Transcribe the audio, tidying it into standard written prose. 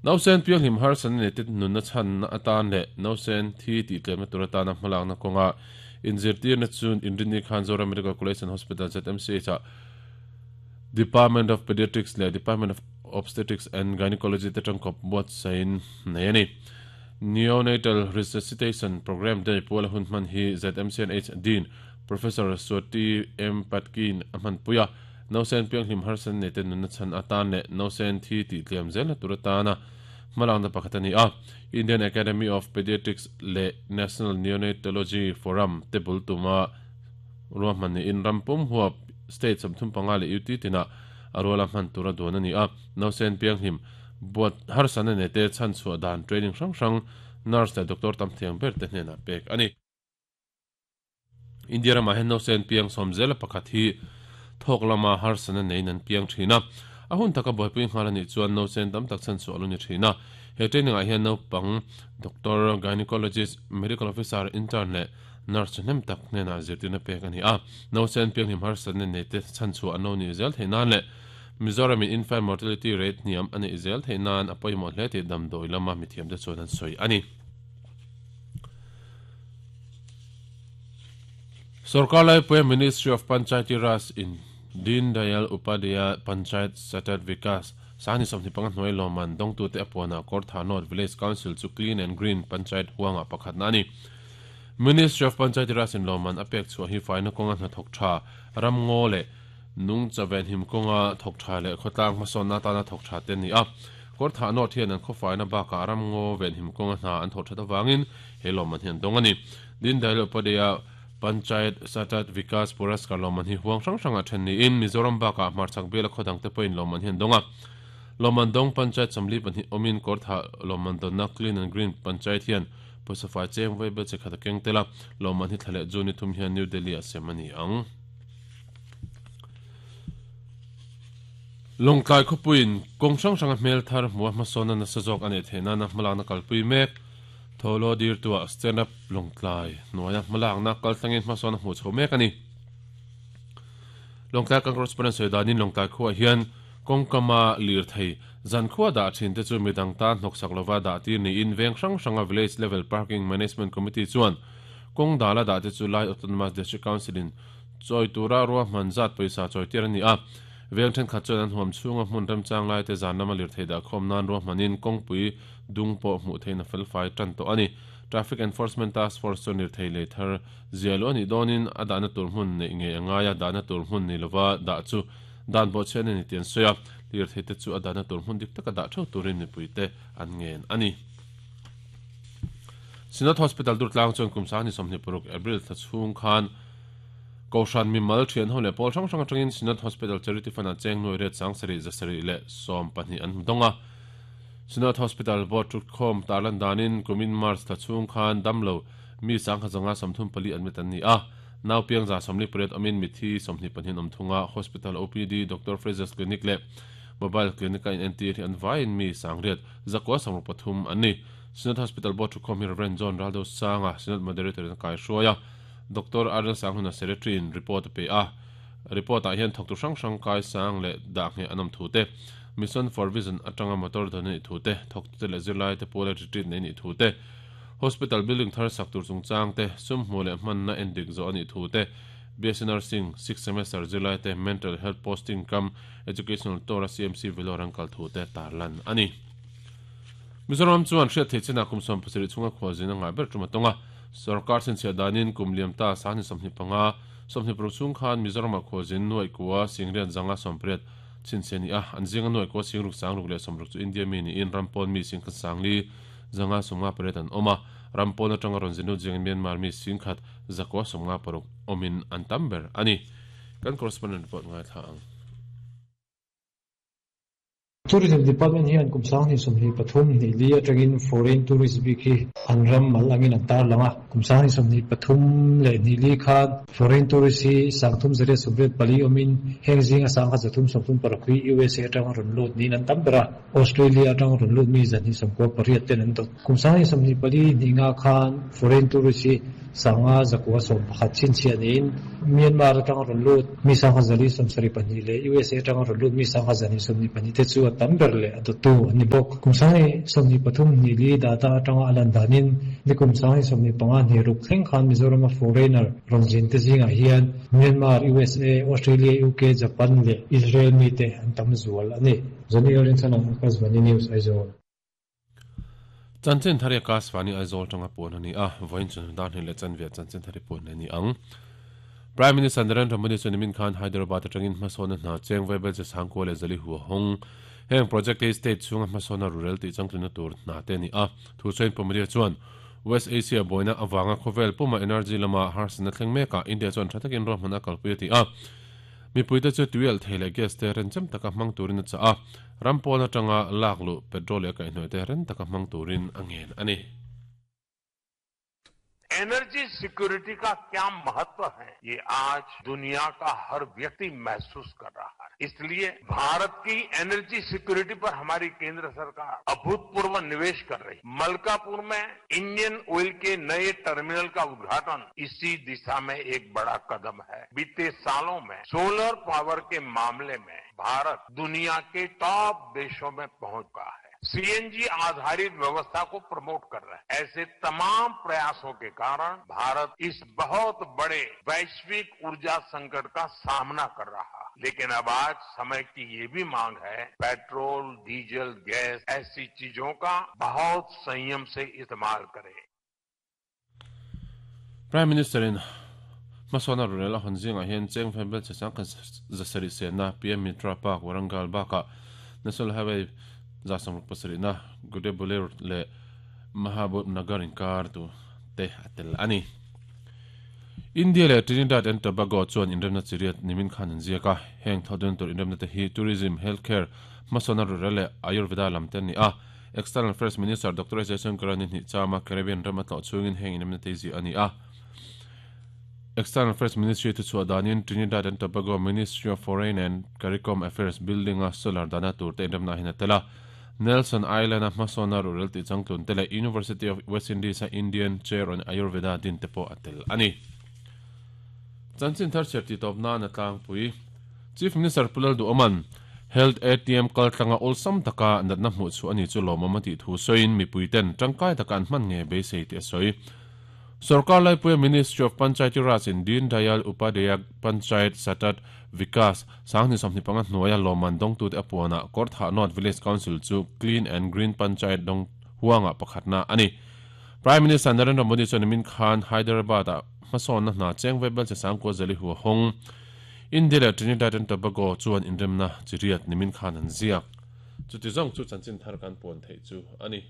Nausen pianghlim harsatna nei te nunna chhanna atan leh nausen thi tih tlemna tur atana hmalakna kawnga inzirtirna chu Inrinni khan Zoram Medical College and Hospital, ZMCH, ah Department of Pediatrics leh Department of Obstetrics and Gynecology te tangkawp buatsaihin nei a ni. Neonatal Resuscitation Programme Day puala hun hman hi ZMCNH Dean Professor Swati M Patki-in a hmanpui a. Nausen pianghlim harsatna nei te nunna chhan atan leh nausen thi tih tliam zelna tur atana hmalakna pakhat a ni a. Indian Academy of Pediatrics leh National Neonatology Forum te bul tuma ruahman niin ram pum huap state 35 leh UT tinah a ruala hman tura duan a ni a. Nausen pianghlim buat harsatna nei te chhanchhuah dan training hrang hrang nurse leh doctor tam thiang ber te hnenah pek a ni. India ramah hian nausen piang sawm zela pakhat hi thawk lama harsatna neiin an piang thin a. A hun taka buaipui nghal a nih chuan nausen tam tak chhanchhuah a lo ni thin a. He training ah hian naupang doctor, gynecologist, medical officer, intern leh nurse thahnem tak hnenah zirtirna pek a ni a. Nausen pianghlim harsatna nei te chhanchhuah an lo nih zel theih nan leh Mizoramin infant mortality rate hniam a neih zel theih nan a pawimawh hle tih damdawi lama mithiamte chuan an sawi a ni. Sorkar laipuia Ministry of Panchayati Raj in Deen Dayal Upadhyaya Panchayat Satat Vikas Sangni 25 hnuai lawmman dawngtute a puanah Kawrthah North Village Council chu Clean and Green Panchayat huangah pakhatna a ni. Ministry of Panchayati Raj in lawmman a pek chhuah hi faina kawnga hnathawk tha, ramngaw leh nungcha venhim kawnga thawk tha leh khawtlang hmasawnna atana thawk tha te a ni a. Kawrthah North hian an khawfaina bakah ramngaw venhim kawnga hna an thawh that avangin he lawmman hi an dawng a ni. Deen Dayal Upadhyaya Panchayat Satat Vikas Puraskar lawmman hi huang hrang hrangah then niin Mizoram bakah hmarchhak biala khaw dangte pawhin lawmman hi an dawng a. Lawmman dawng Panchayat 42 awmin Kawrthah lawmman dawnna Clean and Green Panchayat hian pawisa fai cheng vawi bel che khat a keng tel a, lawmman hi thla leh June ni thum hian New Delhi ah sem a ni ang. Lawngtlai khawpuiin kawng hrang hranga hmel thar hmuha hmasawnna nasa zawk a neih theih nana hmalakna kalpui mek. Thawhlaw dirtuah Stand Up Lawngtlai hnuaia hmalakna kaltlangin hmasawn a hmuh chho mek a ni. Lawngtlai kan correspondent sawi danin Lawngtlai khuaah hian kawngkama lirthei zankhua dah thin te chu midang tan hnawksak lova dah tir niin veng hrang hranga Village Level Parking Management Committee chuan kawng dala dah te chu Lai Autonomous District Council in chawi tura ruahman zat pawisa chawi tir a ni a. Veng thenkhat chuan an huam chhunga hmun remchang lai te zan lama lirthei dah khawm nan ruahmanin kawngpui dung pawh hmuh theihna felfai tan tawh a ni. Traffic Enforcement Task Force chuan lirthei lei thar zia luh a nih dawnin a dahna tur hmun neih ngei a ngai a, dahna tur hmun ni lova dah chu dan bawhchhiat a ni tih an sawi a, lirthei te chu a dahna tur hmun dik taka dah theuh turin mipuite an ngen a ni. Synod Hospital Durtlang chuan kum 26 April thla chhung khan Kohhran mimal thian ho leh pawl hrang hrang atangin Synod Hospital Charity Fund-ah cheng nuai riat 700 712 an hmu dawng a. Synod Hospital Board thutkhawm tarlan danin kumin March thla chhung khan damlo mi 1,134 admit an ni a, nau piang 48 awmin mithi 22 an awm thung a, Hospital OPD, Doctor Fraser's Clinic leh Mobile Clinic a inentir hi an vaiin mi 900 963 an ni. Synod Hospital Board thutkhawm hi Rev John Raldosanga, Synod Moderator in a kaihruai a, Doctor Arel Sanghluna Secretary in report a pe a, report ah hian thawktu hrang hrang kai sang leh dah ngheh an awm thu te, Mission for Vision atanga motor dawn a nih thu te, thawktute leh zirlaite puala retreat nei a nih thu te, Hospital building thar sak tur chungchang te, sum hmuh leh hmanna endik zawh a nih thu te, BSc Nursing sixth semester zirlaite mental health posting cum educational tour a CMC Vellore an kal thu te tarlan a ni. Mizoram chuan hriat theih chinah kum 17 chhunga khualzin a ngah ber tum a tawng a. Sorkar chhinchhiah danin kum liam ta 25, 26 chhung khan Mizoramah khualzin nuaih kua singriat zanga 80 chhinchhiah a ni a, an zinga nuaih kua singruk sangruk leh 60 chu India mi niin ram pawn mi singkhat sangli zanga 58 an awm a, ram pawn atanga rawn zinlut zingin Myanmar mi singkhat zakua 56 awmin an tam ber a ni. Kan correspondent report ngaithla ang. Tourism Department hian kum 2023 hnih li atangin foreign tourist bik hi an ram mal angin an tarlang a. Kum 2023 leh hnih li khan foreign tourist hi 384 awmin heng zinga 1336 hi USA atanga rawn lut niin an tam ber a. Australia atanga rawn lut mi 298 ten an dawt. Kum 2024 hnih nga khan foreign tourist hi. 5911 chhinchhiah niin Myanmar atanga rawn lut mi 5172 leh USA atanga rawn lut mi 1222 te chu a tam ber leh a dawttu an ni bawk. Kum 2023 24 data atanga a lan danin nikum 2025 26 thleng khan Mizorama foreigner rawn zin te zingah hian Myanmar, USA, Australia, UK, Japan leh Israel mite an tam zual a ni. Johnny Lalrinchhana, Akashvani News, Aizawl. Chanchin thar i Akashvani Aizawl tanga puan a ni a, vawiin chhun dar hnih leh chanve chanchin thar i puan a ni ang. Prime Minister Narendra Modi chuan nimin khan Hyderabad atangin hmasawnna hna cheng vaibel che sangkua leh zali hu a hawng. Heng project hi state chhunga hmasawnna rurel tih changtlunna tur hna te a ni a. Thusawiin Pu Modi chuan West Asia buaina avanga khawvel puma energy lama harsatna thleng mekah India chuan tha takin ruahmanna a kalpui a ti a. Mipuite chu tuialh thei leh gas te renchem taka hmang turin a chah a. Ram pawn atanga lak luh petrol leh a kaihhnawih te ren taka hmang turin a ngen a ni. Energy security का क्या महत्व है ये आज दुनिया का हर व्यक्ति महसूस कर रहा है इसलिए भारत की एनर्जी सिक्योरिटी पर हमारी केंद्र सरकार अभूतपूर्व निवेश कर रही है मलकापुर में इंडियन ऑयल के नए टर्मिनल का उद्घाटन इसी दिशा में एक बड़ा कदम है बीते सालों में सोलर पावर के मामले में भारत दुनिया के टॉप देशों में पहुंच गया है सीएनजी आधारित व्यवस्था को प्रमोट कर रहे हैं ऐसे तमाम प्रयासों के कारण भारत इस बहुत बड़े वैश्विक ऊर्जा संकट का सामना कर रहा है लेकिन अब आज समय की ये भी मांग है petrol diesel gas ऐसी चीजों का बहुत संयम से इस्तेमाल करें Prime Minister in hmasawnna rurel a hawn zingah hian cheng vaibel che sang khat zasarih senna PM Mitra Park Warangal bakah National Highway 67na Gudebuler leh Mahabub Nagar inkar tu te a tel a ni. India leh Trinidad and Tobago chuan inremna chiriat nimin khan an ziak a, heng thawhdun tur inremna te hi tourism, healthcare, hmasawnna rurel leh Ayurveda lam te an ni a. External Affairs Minister Doctor S Jaishankar-a ni hnih chama Caribbean ram a tlawh chhungin heng inremna te hi ziah a ni a. External Affairs Ministry thuchhuah danin Trinidad and Tobago Ministry of Foreign and Caricom Affairs building-a solar dahna tur te inremna hian a tel a. Nelson Island-a hmasawnna ruhrel tih changtlun te leh University of West Indies-a Indian Chair on Ayurveda din te pawh a tel a ni. Chanchin thar chhiar tih tawp nan a tlangpui. Chief Minister Pu Lalduhawma'n Health ATM kaltlanga awlsam taka natna hmuh chhuah a ni chu lawmawm a tih thu sawiin mipuiten tangkai taka an hman nge beisei tih a sawi. Sorkar laipuia Ministry of Panchayati Raj in Deen Dayal Upadhyaya Panchayat Satat Vikas 2025 hnuaia lawmman dawngtute a puanah Kawrthah North Village Council chu Clean and Green Panchayat dawng huangah pakhatna a ni. Prime Minister Narendra Modi chuan nimin khan Hyderabad-ah hmasawnna hna cheng vaibel che sangkua zali hu a hawng. India leh Trinidad and Tobago chuan inremna chi riat nimin khan an ziak. Chuti zawng chu chanchin thar kan puan theih chu a ni.